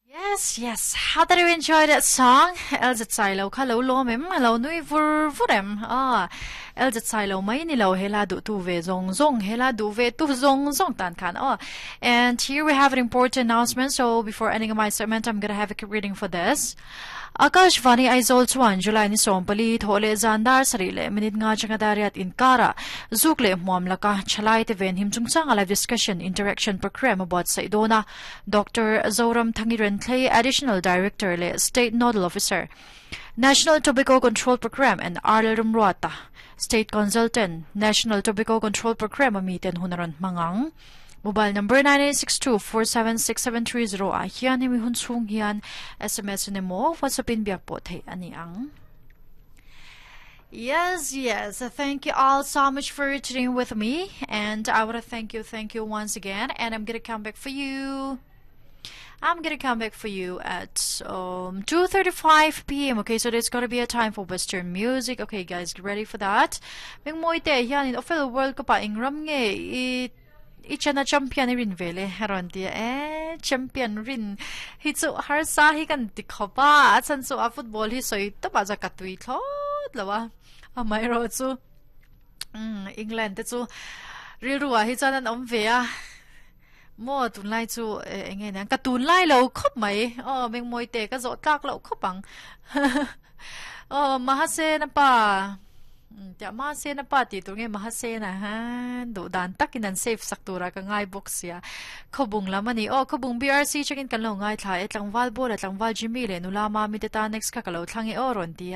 Yes, yes. How did you enjoy that song? Elza Sailo kha lo lawm em? Lo nui vur vur em? Ah, Elza Sailo mai ni lo hela du tu ve zong zong hela du ve tu zong zong tan khan. Oh, and here we have an important announcement. So before ending my segment, I'm gonna have a quick reading for this. Akashvani Aizawl chuan July ni 14 thawhleh zan dar sarih leh minute nga atanga dar riat inkara zuk leh hmuam laka thalai te ven him chungchanga live discussion interaction program a buatsaih dawn a. Doctor Zoram Thangi Renthlei, Additional Director leh State Nodal Officer, National Tobacco Control Programme and R Lalrumruata, State Consultant, National Tobacco Control Programme a miten hun a rawn hmang ang. Mobile number 9862476730 ah hian hemi hun chhung hian SMS in emaw WhatsApp in biak pawh theih a ni ang. Yes, yes. Thank you all so much for tuning with me. And I want to thank you, thank you once again. And I'm going to come back for you. I'm gonna come back for you at 2:35 p.m. Okay, so there's gonna be a time for Western music. Okay, guys, get ready for that. Ming moi te hian in official World Cup a ingram nge i i chana champion i rin vele heron ti e champion rin hi chu har sa hi kan ti khopa a chan chu a football hi soi to ba ja ka tui thlot lawa a mai ro chu England te chu rilru ah hi chuan an awm ve a maw tunlai chu eng nge niang ka tunlai lo khawp mai aw mengmawi te ka zawh tlak loh khawp ang aw Mahasena pa tiah Mahasena pa tih tur nge Mahasena ha duh dan takin an save sak tura ka ngai bawk sia khawbung lam a ni aw khawbung BRC changin kan lo ngaithla e tlangval bawla tlangval Jimmy leh nula mami te tan next kha ka lo thlang e aw rawn ti a.